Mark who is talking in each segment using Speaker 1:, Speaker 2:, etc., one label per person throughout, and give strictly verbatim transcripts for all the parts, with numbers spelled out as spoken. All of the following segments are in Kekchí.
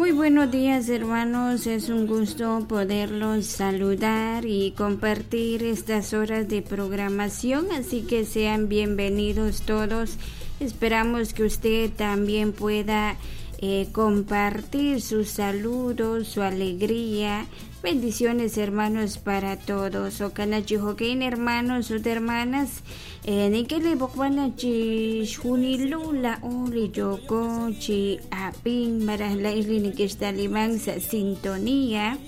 Speaker 1: Muy buenos días, hermanos, es un gusto poderlos saludar y compartir estas horas de programación, así que sean bienvenidos todos. Esperamos que usted también pueda eh, compartir sus saludos, su alegría. Bendiciones, hermanos, para todos. Okana chi jo'kan, hermanos ut hermanas. Nink'e b'oqb'al chi xjunilo laa'o li yooko chi ab'ink malaj la'ix li neke'xtaliman sa' sintonía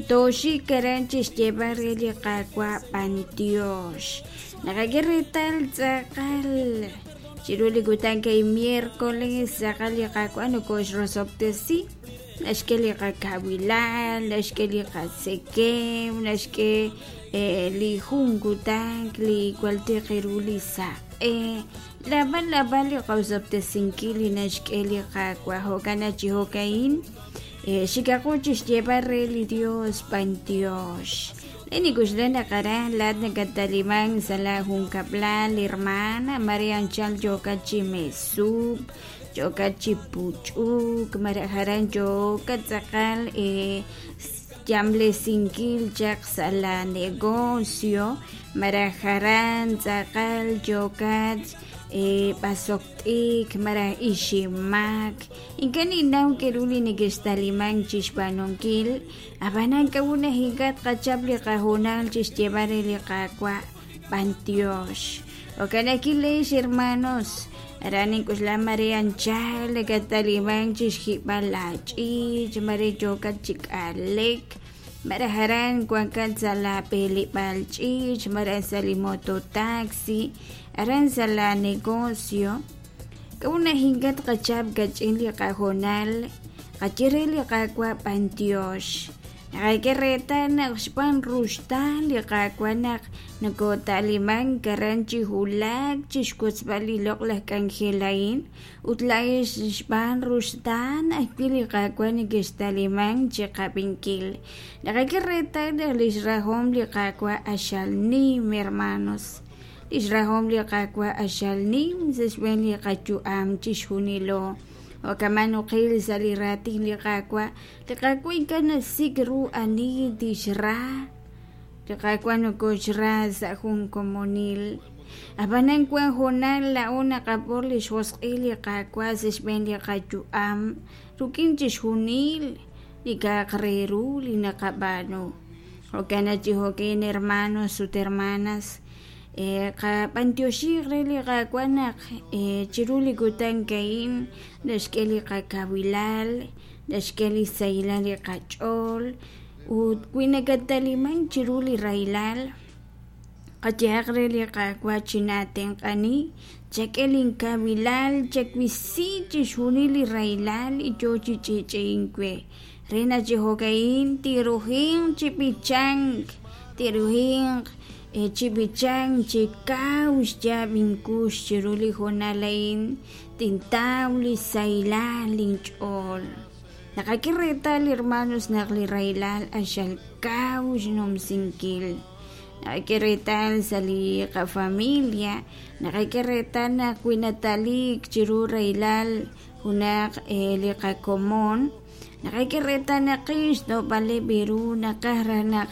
Speaker 1: toxik aran chixyeeb'al re li Qaawa' b'antiox naqak'e reetal tz'aqal chiru li kutan kay miércoles tz'aqal li Qaawa' nokoxrosob'tesi naxk'e li qakawilal naxk'e li qasekem naxk'e li jun kutan li kualtiq ru li saq'e lab'al lab'al li qawsob'tesinkil li naxk'e li Qaawa' jo'kan chi jo'ka'in xikaqu chixyeeb'al re li Dios b'antiox Nikuxla naqaran laat nakataliman sa' la junkab'lal hermana Maria anchal yookat chi mesub yookat chi puch'uk maraj aran yookat tz'aqal yamlesinkil chaq sa' la negocio maraj aran tz'aqal yookat b'asokt'ik maraj iximak ink'a' ninnaw k'eru li neke'xtaliman chixb'aanunkil ab'anan k'a'ut ink'a' tqachap li qahoonal chixyeeb'al re li Qaawa' b'antiox jo'kan ajwi' leex hermanos aran nink'uxla mare anchal nakataliman chixjib'al la ch'iich mare yookat chi k'alek maraj aran wankat sa' la b'eleb'aal ch'iich maraj sa' li mototaxi aran sa' la negocio k'a'ut naq ink'a' tqachap kach'in li qahoonal qaye re li Qaawa' b'antiox naqak'e reetal naq xb'aan ruxtaan li Qaawa' naq nokotaliman aran chi wulak chixwotzb'al li loq'laj k'anjel a'in ut la'ex xb'aan ruxtaan ajwi' li Qaawa' neke'xtaliman chi qab'inkil naqak'e reetal naq lix rajom li Qaawa' q'axal nim hermanos lix rajom li Qaawa' q'axal nim sa' xb'een li qayu'am chixjunilo jo'kaman uqil sa' li raatin li Qaawa' li Qaawa' ink'a' nasik' ru ani tixra li Qaawa' nokoxra sa' jun komonil ab'anan wan hoonal laa'o naqab'or li xjosq'il li Qaawa' sa' xb'een li qayu'am rik'in chixjunil li k'a'aq re ru li naqab'aanu jo'kan chi jo'kan hermanos ut hermanas qab'antioxiq re li Qaawa' naq chiru li kutan ka'in naxk'e li qakawilal naxk'e li sahilal li qach'ool ut wi nakataliman chiru li rahilal qayehaq re li Qaawa' chinatenq'ani chak'e linkawilal chawisi chixjunil li rahilal li yoo chi ch'i'ch'i'ink we re naq chi jo'ka'in tirujinq chi b'ichank tirujinq chi b'ichank chi kaw xyaab' inkux chiru li hoonal a'in tintaw li sahilal linch'ool naqak'e reetal hermanos naq li rahilal q'axal kaw xnumsinkil naqak'e reetal sa' li qafamilia naqak'e reetal naq wi nataliik chiru rahilal junaq li qakomon naqak'e reetal naq qix xto'b'aleb' ru naqaj raj naq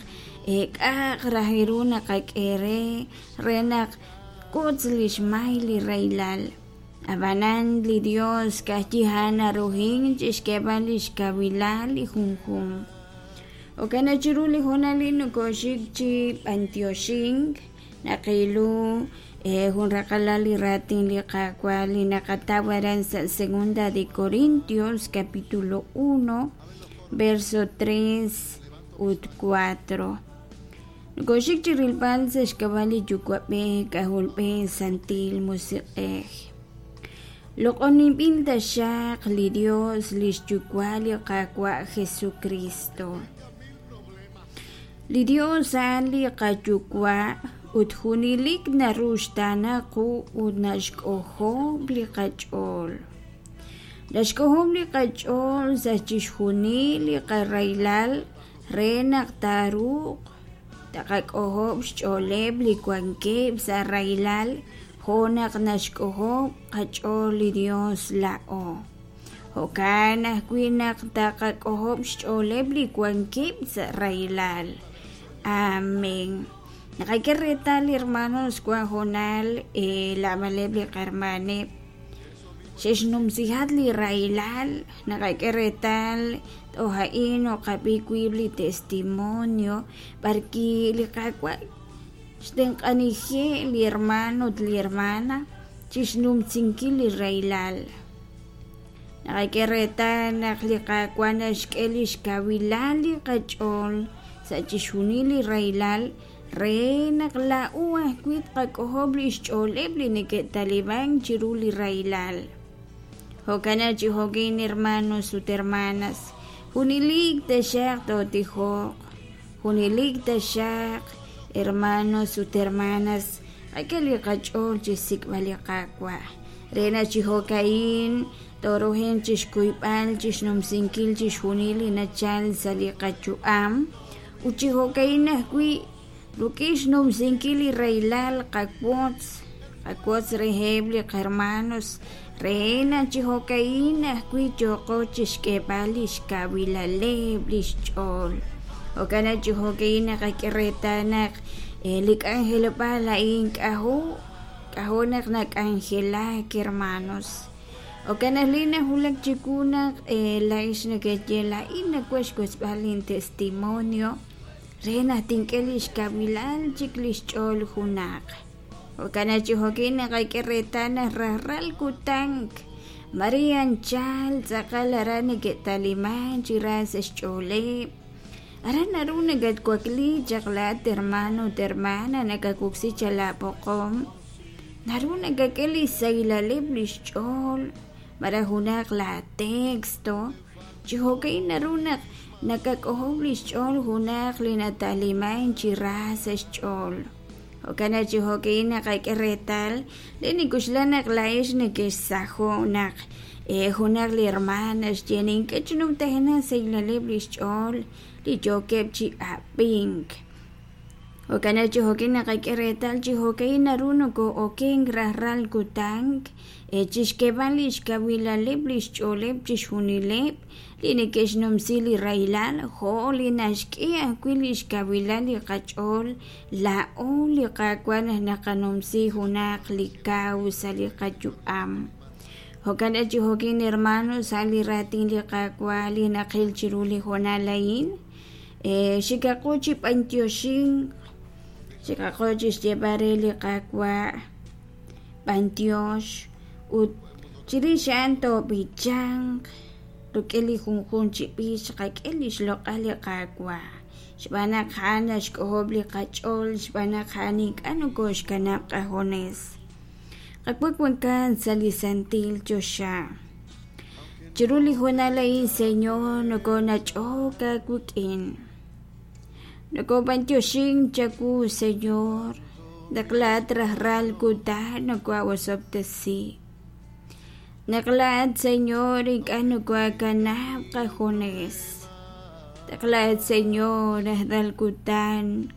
Speaker 1: k'a'aq raj ru naqak'e re re naq kutz li xmay li rahilal ab'anan li Dios ka'ajwi' a'an narujin chixk'eeb'al li xkawilal li junjunq jo'kan naq chiru li hoonal nokoxik chi b'antioxink naqilu jun raqalal li raatin li Qaawa' li naqataw aran sa' segunda de Corintios capítulo uno verso tres ut cuatro nokoxik chi rilb'al sa' xk'ab'a' li Yuwa'b'ej K'ajolb'ej Santil Musiq'ej loq'oninb'il taxaq li Dios lix Yuwa' li Qaawa' Jesucristo li Dios a'an li qayuwa' ut junelik naruxtaana qu ut naxk'ojob' li qach'ool naxk'ojob' li qach'ool sa' chixjunil li qarahilal re naq taaruuq taqak'ojob' xch'ooleb' li wankeb' sa' rahilal jo' naq naxk'ojob' qach'ool li Dios laa'o Jo'kan ajwi' naq taqak'ojob' xch'ooleb' li wankeb' sa' rahilal. Amén. Naqak'e reetal, hermanos, wan hoonal laamaleb' li qahermaneb' xe'xnumsihat li rahilal. Naqak'e reetal toj a'in oqab'i wiib' li testimonio b'arki li Qaawa' xtenq'anije' li hermano ut li hermana chixnumsinkil li rahilal. Naqak'e reetal naq li Qaawa' naxk'e lix kawilal li qach'ool sa' chixjunil li rahilal re naq laa'o ajwi' tqak'ojob' lix ch'ooleb' li neke'taliban chiru li rahilal. Jo'kan chi jo'kin, hermanos ut hermanas, junelik taxaq tootijoq, junelik taxaq, hermanos ut hermanas, qak'e li qach'ool chixsik'b'al li Qaawa' re naq chi jo'ka'in toruhin chixkuyb'al chixnumsinkil chixjunil li nachal sa' li qayu'am ut chi jo'ka'in ajwi' rik'in xnumsinkil li rahilal qawotz qawotz reheb' li qahermanos re naq chi jo'ka'in ajwi' yooqo chixk'eeb'al lix kawilaleb' lix ch'ool. Jo'kan naq chi jo'ka'in naqak'e reetal naq li k'anjelob'aal a'in k'ajo' k'ajo' naq nak'anjelak, hermanos. Jo'kan naq li nawulak chiwu naq laa'ex nekeye laa'in nawaj xwotzb'al lin testimonio re naq tink'e lix kawilal chik lix ch'ool junaq. Jo'kan naq chi jo'kin naqak'e reetal naq rajlal kutan mare anchal tz'aqal aran neke'taliman chi ra sa' xch'ooleb'. Aran naru nakatwakli chaq laa'at hermano ut hermana nakawoksi chaq laab'oqom naru nakak'e li xsahilaleb' lix ch'ool malaj junaq la texto chi jo'ka'in naru naq nakak'ojob' lix ch'ool junaq li nataliman chi ra sa' xch'ool. Jo'kan naq chi jo'ka'in naqak'e reetal li nik'uxla naq laa'ex nekexsajo' naq junaq li hermana xye nink'e chi numtajenaq xsahilaleb' lix ch'ool li yookeb' chi ab'ink. Jo'kan naq chi jo'kin naqak'e reetal chi jo'ka'in naru nokoo'okenk rajlal kutan chixk'eeb'al lix kawilaleb' lix ch'ooleb' chixjunileb' li neke'xnumsi li rahilal jo' li naxk'e ajwi' lix kawilal li qach'ool laa'o li Qaawa' naq naqanumsi junaq li kaw sa' li qayu'am. Jo'kan naq chi jo'kin, hermanos, sa' li raatin li Qaawa' li naqil chiru li hoonal a'in xikaqo chi b'antioxink, xikaqo chixyeeb'al re li Qaawa' b'antiox ut chirix a'an toob'ichanq rik'in li junjunq chi b'ich qak'e lix loq'al li Qaawa' xb'aan naq a'an naxk'ojob' li qach'ool xb'aan naq a'an ink'a' nokoxkanab' qajunes. Qak'e wankan sa' li santil choxa. Chiru li hoonal a'in, Señor, nokonach'ok aawik'in. Nokob'antioxink chawu, Señor, naq laa'at rajlal kutan nokoawosob'tesi. Naq laa'at, Señor, ink'a' nokoakanab' qajunes. Naq laa'at, Señor, rajlal kutan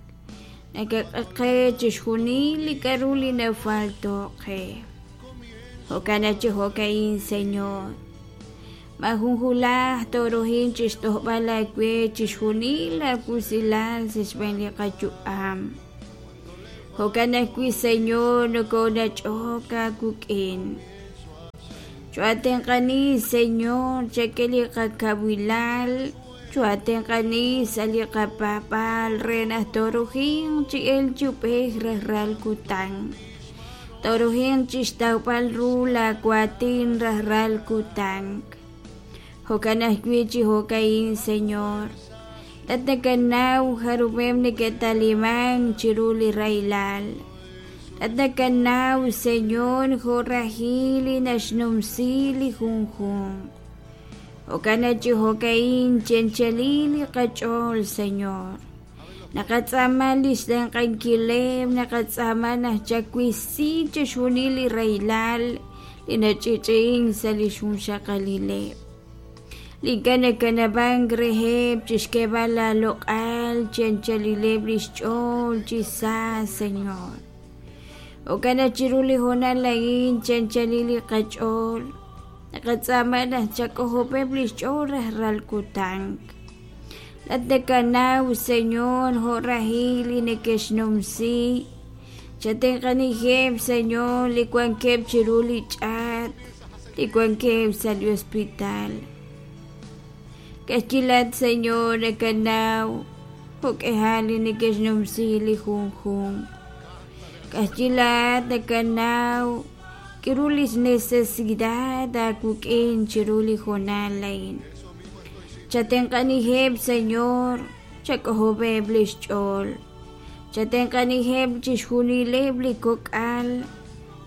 Speaker 1: nakak'e qe chixjunil li k'a'ru li nafalto' qe. Jo'kan naq chi jo'ka'in, Señor, majun hulaj toruhin chixtojb'al aawe chixjunil aawusilal sa' xb'een li qayu'am. Jo'kan ajwi', Señor, nokonach'ok aawik'in. Choatenq'ani, Señor, chak'e li qakawilal, choatenq'ani sa' li qapaab'aal re naq toruhin chi el chub'ej rajlal kutan. Toruhin chixtawb'al ru laawatin rajlal kutan. Jo'kan ajwi' chi jo'ka'in, Señor, laat nakanaw jarub'eb' neke'taliman chiru li rahilal. Laat nakanaw, Señor, jo' rajil li naxnumsi li junjunq. Jo'kan naq chi jo'ka'in chenchalil li qach'ool, Señor. Naqatz'aama lix tenq'ankileb', naqatz'aama naq chawisi chixjunil li rahilal li nach'i'ch'i'ink sa' li xjunxaqalileb'. Li ink'a' nakanab'ank reheb' chixk'eeb'al laaloq'al chenchalileb' lix ch'ool chi sa, Señor. Jo'kan naq chiru li hoonal a'in chenchalil li qach'ool. Naqatz'aama naq chak'ojob'eb' li xch'ool rajlal kutan. Laa'at nakanaw, Señor, jo' rahil li neke'xnumsi. Chatenq'aniheb', Señor, li wankeb' chiru li ch'aat, li wankeb' sa' li hospital. Ka'ajwi' laa'at, Señor, nakanaw jo'k'ihal li neke'xnumsi li junjunq. Ka'ajwi' laa'at nakanaw k'aru li necesidad aawik'in chiru li hoonal a'in. Chatenq'aniheb', Señor, chak'ojob'eb' li xch'ool. Chatenq'aniheb' chixjunileb' li kok'al,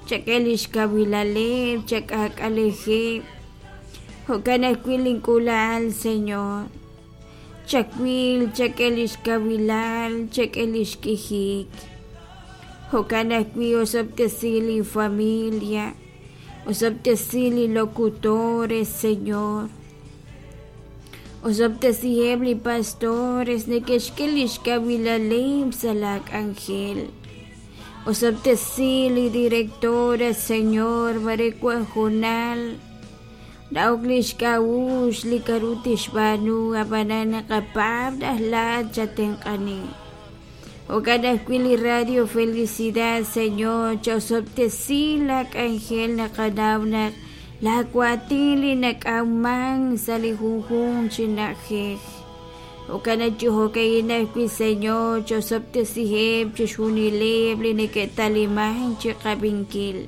Speaker 1: chak'e li xkawilaleb', chak'aak'alejeb'. Jo'kan ajwi' link'uula'al, Señor. Chawil, chak'e li xkawilal, chak'e li xk'ijik. Jo'kan ajwi' osob'tesi li familia, osob'tesi li locutores, Señor. Osob'tesiheb' li pastores neke'xk'e li xkawilaleb' sa' la k'anjel. Osob'tesi li directora, Señor, mare wan hoonal na'ok li xk'a'uxl li k'aru tixb'aanu ab'anan naqapaab' naq laa'at chatenq'ani. Jo'kan ajwi' li Radio Felicidad, Señor, chaosob'tesi la k'anjel naqanaw naq laawaatin li nak'awman sa' li junjunq chi na'ajej. Jo'kan chi jo'ka'in ajwi', Señor, chaosob'tesiheb' chixjunileb' li neke'taliman chi qab'inkil.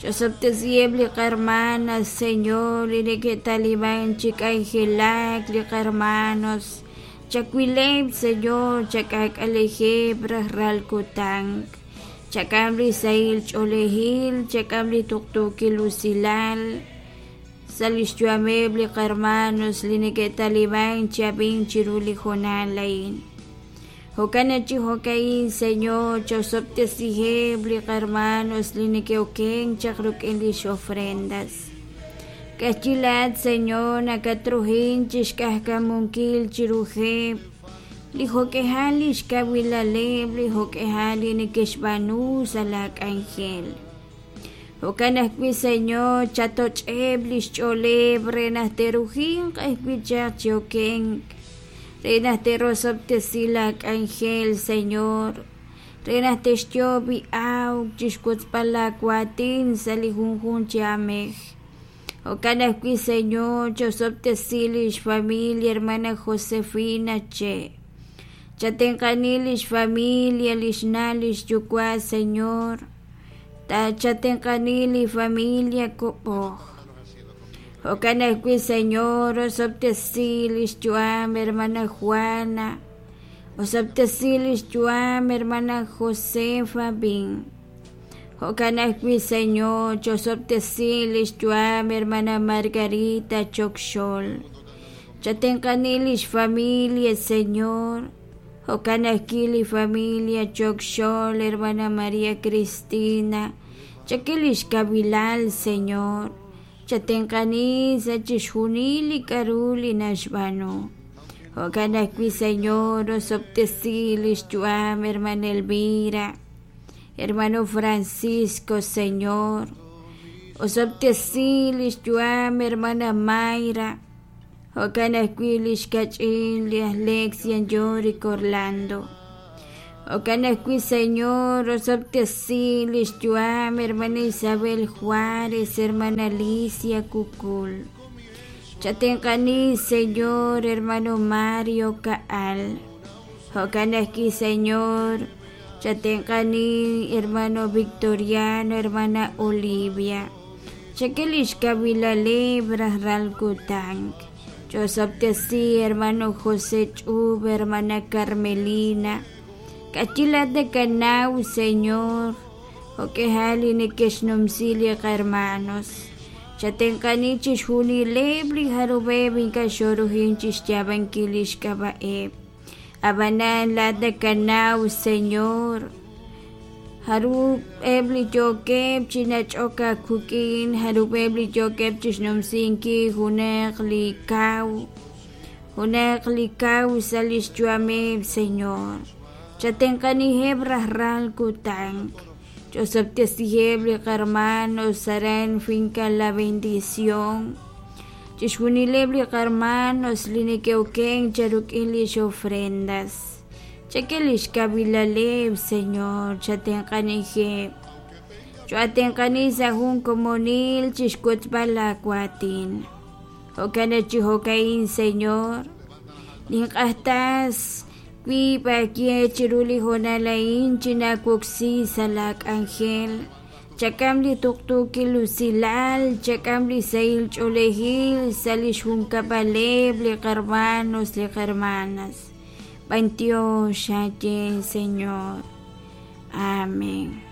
Speaker 1: Chaosob'tesiheb' li qarmanas, Señor, li neke'taliman chi k'anjelak li qarmanos. Chawileb', Señor, chak'aak'alejeb' rajlal kutan. Chak'am li sahil ch'oolejil, chak'am li tuqtuukil usilal. Sa' li xyu'ameb' li qarmanos li neke'taliman chi ab'ink chiru li hoonal a'in. Jo'kan chi jo'ka'in, Señor, chaosob'tesiheb' li qarmanos li neke'okenk chaq rik'in lix ofrendas. Ka'ajwi' laa'at, Señor, nakatruhin chixk'ajkamunkil chiruheb' li jo'k'ihal li xkawilaleb', li jo'k'ihal li neke'xb'aanu sa' la k'anjel. Jo'kan ajwi', Señor, chatoch'eb' li xch'ooleb' re naq te'rujinq ajwi' chaq chi okenk, re naq te'rosob'tesi la k'anjel, Señor, re naq te'xyoob' awk chixwotzb'al laawaatin sa' li junjunq chi aamej. Jo'kan ajwi', Señor, chaosob'tesi li xfamilia hermana Josefina Che. Chatenq'ani li xfamilia, li xna', li xyuwa', Señor. Ta chatenq'ani li familia Kob'oj. Jo'kan ajwi', Señor, osob'tesi li xyu'am hermana Juana. Osob'tesi li xyu'am hermana Josefa Bin. Jo'kan ajwi', Señor, chaosob'tesi li xyu'am hermana Margarita Chokxol. Chatenq'ani li xfamilia, Señor. Jo'kan ajwi' li familia Chokxol, hermana María Cristina. Chak'e li xkawilal, Señor. Chatenq'ani sa' chixjunil li k'aru li naxb'aanu. Jo'kan ajwi', Señor, osob'tesi li xyu'am hermana Elvira, hermano Francisco, Señor. Osob'tesi li xyu'am hermana Mayra. Jo'kan ajwi' li xkach'in li Alexia Yorick Orlando. Jo'kan ajwi', Señor, osob'tesi li xyu'am hermana Isabel Juárez, hermana Alicia Cucul. Chatenq'ani, Señor, hermano Mario Kaal. Jo'kan ajwi', Señor, chatenq'ani, hermano Victoriano, hermana Olivia. Chak'e li xkawilaleb' rajlal kutan. Chaosob'tesi, hermano José Ch'ub, hermana Carmelina. Ka'ajwi' laa'at nakanaw, Señor, jo'k'ihal li neke'xnumsi li qarmanos. Chatenq'ani chixjunileb' li jarub'eb' ink'a' xoruhin chixyaab'ankil li xk'ab'a'eb'. Ab'anan laa'at nakanaw, Señor, jarub'eb' li yookeb' chi nach'ok aawik'in, jarub'eb' li yookeb' chixnumsinkil junaq li kaw, junaq li kaw sa' li xyu'ameb', Señor. Chatenq'aniheb' rajlal kutan. Ch'osob'tesiheb' li qarmanos aran Finca La Bendición. Chixjunileb' li qarmanos li neke'oken cha ruk'in lix ofrendas. Chak'e lix kawilaleb', Señor, chatenq'anijeb'. Cho'atenq'ani sa' jun komonil chixwotzb'al laawaatin. Jo'kan chi jo'ka'in, Señor, nink'ajtas wiib' aaye chiru li hoonal a'in chinaawoksi sa' laak'anjel. Chak'am li tuqtuukil usilal, chak'am li sahil ch'oolejil sa' li xjunkab'aleb' li qarmanos li qarmanas. B'antiox aaye, Señor. Amén.